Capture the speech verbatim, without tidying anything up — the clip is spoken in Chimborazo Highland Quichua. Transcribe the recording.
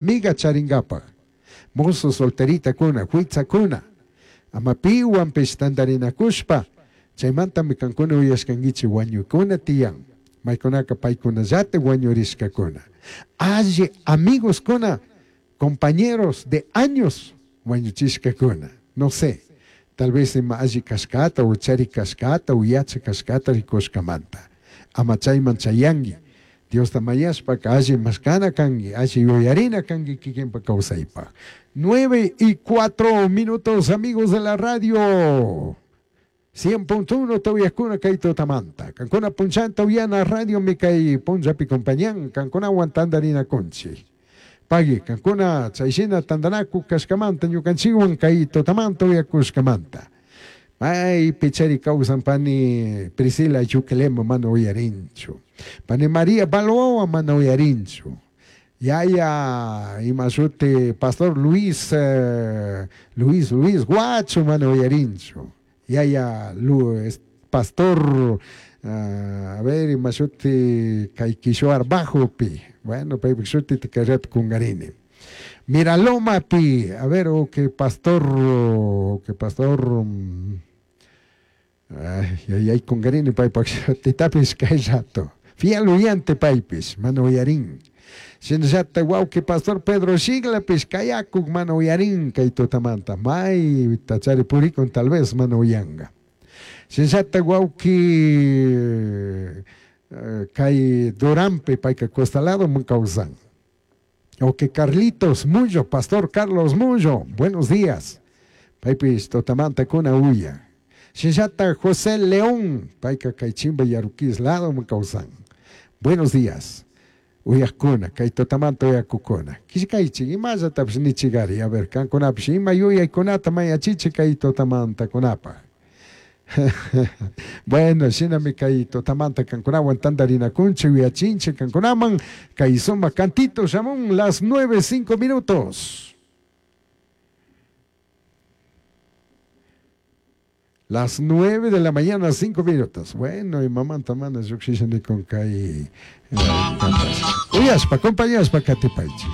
Amiga charingapaj, mozo solteritakuna, huitzakuna, ama piwanpish tandarinakushpa, chaymantami kankuna uyashkankichik wañuykuna tiyan, maykunaka paykunallatik wañurishkakuna. Alli amigoskuna, compañeros de años wañuchishkakuna, no sé, tal vez ima alli kashkata o chari kashkata o yacha kashkata rikushkamanta. Ama chayman chayanki. Diosta mañashpaka alli mashkana kanki, alli yuyarina kanki kikinpa kawsaypaj. Nueve y cuatro minutos, amigos de la radio. cien punto uno tawiyakuna kay tutamanta. Kankuna punchanta uyana radio mi kay punchapi compañan, kankunawan tandarina kunchi. Pagui, kankuna chayshina tandanaku kashkamanta, ñukanchikwan kay tutamanta uyakushkamanta. Ay, pichari kawsan pani Priscila Yuquelema mana uyarinchu. Pani María Balboa mana uyarinchu. Yaya imashuti Pastor Luis, eh, Luis, Luis Guacho mana uyarinchu. Yaya Lu, es, Pastor, uh, a ver, imashuti kay Kishuar Bajopi. Bueno, paypik shuti tikayrat kungarini. Miraloma pi, a ver, o que pastor, o que pastor, um, ay, ay, ay, kungarini paypak shutitapis kay rato. Fiel oyente paypis, mana uyarin. Shinallata wawqi pastor Pedro Shiglapis kayakuk mana uyarin kay tutamanta. May tachari purikun tal vez mana uyanga. Shinallata wawqi, eh, kay Durampe payka costalado man kawsan. O que Carlitos Mullo, Pastor Carlos Mullo, buenos días. Paypis tutamanta kuna uya. Shinallata José León, payka kay Chimba Yaruquis lado man kawsan. Buenos días. Uyakuna, kay tutamanta uyakukuna. Kishkaychik, imallatapish nichigari, a ver, kankunapish ima yuyaykunata mayachichik kay tutamantakunapaj. Bueno, shinami kay tutamanta kankunawan tandarinakunchik, uyachinchik kankunaman, kay suma cantito shamun las nueve cinco minutos. Las nueve de la mañana, cinco minutos. Bueno, y mamanta mana lluqshishani con kay, eh, uyashpa, compañashpa katipaychik.